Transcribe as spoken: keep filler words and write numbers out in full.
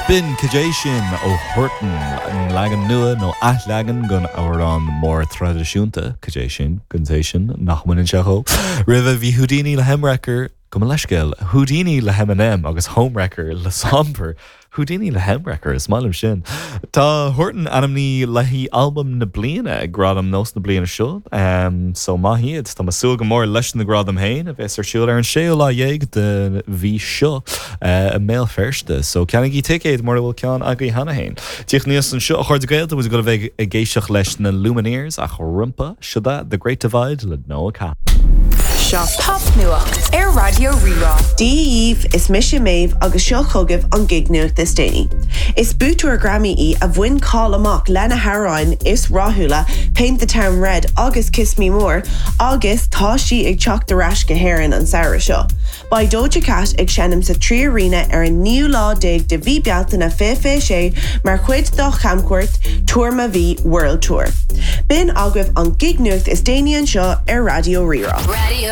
B'in Cad é sin ó Huartan an leagan nua nó athleagan den amhrán mór traidisiúnta cad é sin gon té sin nach mbaineann sé dhó. Roimhe bhí Houdini le Hemwrecker go leiscéil Houdini le Eminem agus Homewrecker le Sombr. Houdini le Hemwrecker is maith liom sin. Tá Huartan ainmnithe le haghaidh albam na bliana ag Gradaim NÓS na bliana seo um, so maith iad Tá súil go mór leis na gradaim féin a bheas ar siúl ar an séú lá dhéag den mhí seo uh, i mBéal Feirste, so ceannaígí ticéad mura bhfuil ceann agaibh cheana féin. Tíocht níos anseo a chairde Gaelta go bheith ag éisteacht leis na Lumineers ach roimhe seo The Great Divide le Noah Kahan. Seo popnuacht ar Raidió Rí-Rá. Dia dhaoibh is mise Méabh agus seo chugaibh an gig-nuacht is déanaí. Is buaiteoir Grammy í a bhain cáil amach lena hamhráin is rathúla Paint the Town Red agus Kiss Me More agus tá sí ag teacht ar ais go hÉirinn an samhradh seo. Beidh Doja Cat ag seinm sa Trí Arena ar an naoú lá déag de mhí Bealtaine fiche fiche sé mar chuid dá chamchuairt Tour Ma Vie World Tour. B'in agaibh an gig-nuacht is déanaí anseo ar Raidió Rí-Rá. Radio